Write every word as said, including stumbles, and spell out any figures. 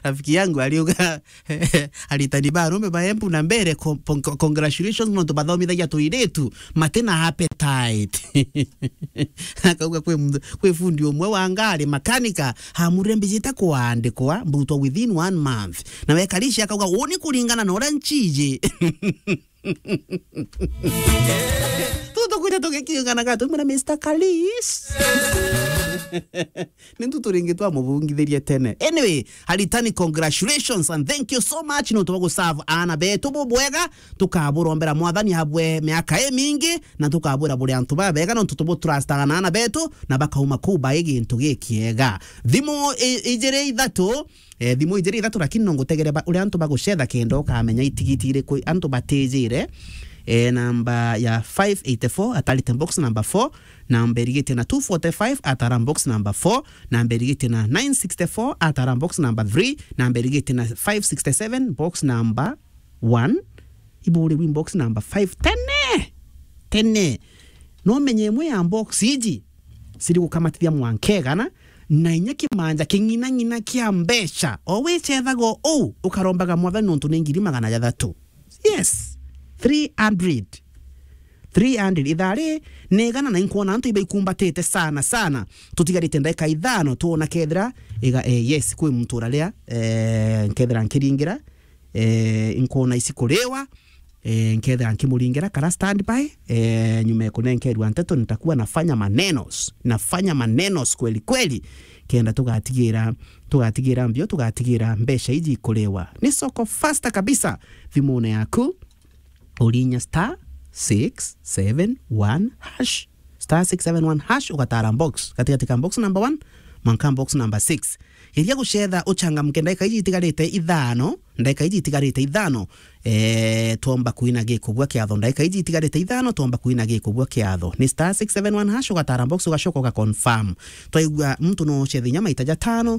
Rafiki yangu aliuga, aritani ba arume ba Embu na mbere, co-, con-, co-, congratulations, nontu bathomithagia tuiritu, mati na appetite. Akauga kwi mtu, kwi fundi umwe wa ngari, makanika, amurire mbijite kuandikwa, mbutwa within one month. Na wekarishi akauga, uni kuringana na uria nchiji. Tutukwire tugikiunganaga tumwira, Mister Kalis. Ni ntu turingi twamubungithirie tene. Anyway, aritani, congratulations and thank you so much nontu bwa guserve aana betu bubwega. Tukaburombera Mwathani abwe miaka imingi, na tukabwira buri antu babega nontu tubutrustaga na aana betu, na bakauma kuu bai gintu gikiega. Thimu i-, ijiri ithatu, eh, thimu ijiri ithatu, lakini no ngutegere ba-, uria antu bagucetha kenda ukamenya itigiti iriku antu batijire. Eh, namba ya five eighty-four, atarite box number four, namba irigitie na two forty-five, atara box number four, namba irigitie na nine sixty-four, atara box number three, namba irigitie na five sixty-seven, box number one, iburi win box number five. Tene! Tene! No menye imwe ya box iji, ciri gukamatithia mwanka igana, na inya kimanja king'inang'ina kia mbeca. O wicethaga uu, ukarombaga Mwathani nontu ni ngiri magana jathatu. Yes, three hundred. Three hundred. Ithaa ri ni igana na inkwona antu ibaikumbatite sana sana. Tutigarite ndagika ithano, twona kethira iga, eh, yes, kwi muntu uraria, eh, nkethira nkiringira, eh, inkwona ici kuriwa, eh, nkethira nkimuringira kara standby, eh, nyuma ya kunenkerwa nteto, nitakuwa nafanya manenos, nafanya manenos kweli kweli, kenda tugatigira, tugatigira mbio, tugatigira mbeca iji ikuriwa. Ni soko faster kabisa thimune yaku, urinya star six seven one hash. Star six seven one hash, ugatara box. Gatigati ka box number one, mwanka box number six. Geria gucetha, uchangamke ndagika iji itigarite ithano, ndagika iji itigarite ithano, eh, twomba kuina gikubua kiatho. Ndagika iji itigarite ithano, twomba kuina gikubua kiatho. Ni star six seven one hash, ugatara box, ugacoka uga confirm. Twaigua muntu no ucethe inya maita jatano,